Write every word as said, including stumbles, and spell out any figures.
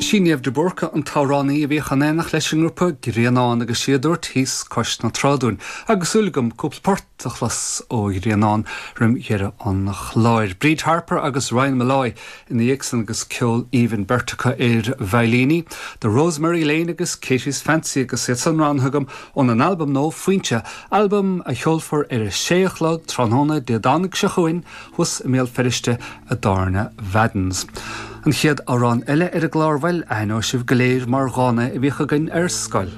Sí Niamh de Búrca an t-amhránaí a bhíodh in éineacht leis an ngrúpa Grianán agus sí a dúirt thíos cois na trá dúinn, agus súil agam cúpla port a chlos ó Ghrianán roimh dheireadh an chláir. Bríd Harper agus Ryan Molloy ina dhiaidh san agus ceol aoibhinn beirt acu ar veidhlíní, The Rosemary Lane agus Katie's Fancy agus iad san roghnaithe agam óna n-albam nua Foinse, albam a sheolfar ar a sé a chlog tráthnóna Dé Domhnaigh seo chugainn thuas i mBéal Feirste i dTábhairne Vaddens. An chéad amhrán eile ar an gclár bhuel aithneoidh sibh go léir mar dhán é a bhíodh againn ar scoil.